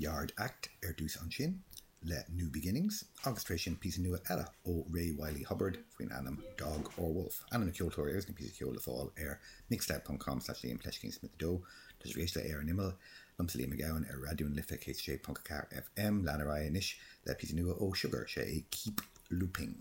Yard Act ar dtús ansin le New Beginnings agus tar éis sin píosa nua eile ó Ray Wylie Hubbard faoin ainm Dog or Wolf. Ainm na ceoltóirí agus na píosa ceoil le fáil ar mixcloud ponc com slash Liam fleiscín Smith 2. Tá sibh ag éisteacht le Ar an Imeall, liomsa Liam Mac Gabhann ar Raidió na Life 106.4 FM. Lean ar aghaidh anois le píosa nua ó Sugar, sé é Keep Looping.